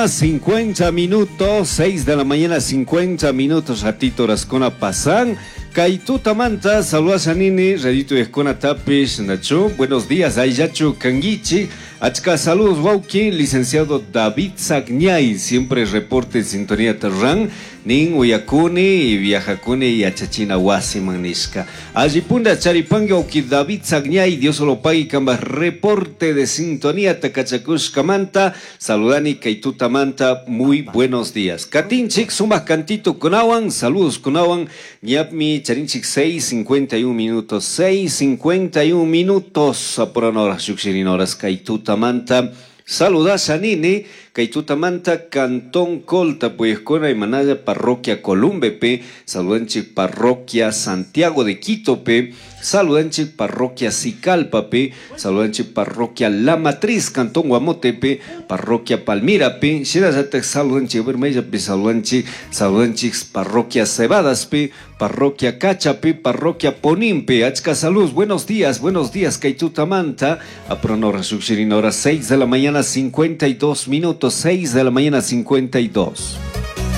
50 minutos, 6 de la mañana, 50 minutos, ratito horaskuna pasan. Kay tutamanta, saludasha nini, radito escona tapish, Nacho. Buenos días, Ayachu Kanguichi. Achka saludos, wauki, licenciado David Sagñay, siempre reporte en sintonía Terran. Nin uyakuni y viajakuni yachachina wasiman nishka. Allipunda charipangui wauki David Sagñay, Dios lo pague kamba reporte de sintonía takachakushkamanta. Saludani kay tutamanta, muy buenos días. Katinchik, sumak cantito kunawan, saludos kunawan. Ñapmi charinchik 6:51 minutos, 6:51 minutos. Apuran horas, llukshirin horas, kay tutamanta. Saludasha nini, kay tutamanta Cantón Colta, Puyescona y Manaya, Parroquia Columbepe, saludanchik Parroquia Santiago de Quitope, saludanchik Parroquia Sicalpape, saludanchik Parroquia La Matriz, Cantón Guamotepe, Parroquia Palmirape, shinallatak saludanchik Bermeyape, saludanchik, saludanchik Parroquia Cebadaspe, Parroquia Cachape, Parroquia Ponimpe, achka salud, buenos días, kay tutamanta, apronora shukshirin hora 6 de la mañana 52 minutos, 6 de la mañana 52.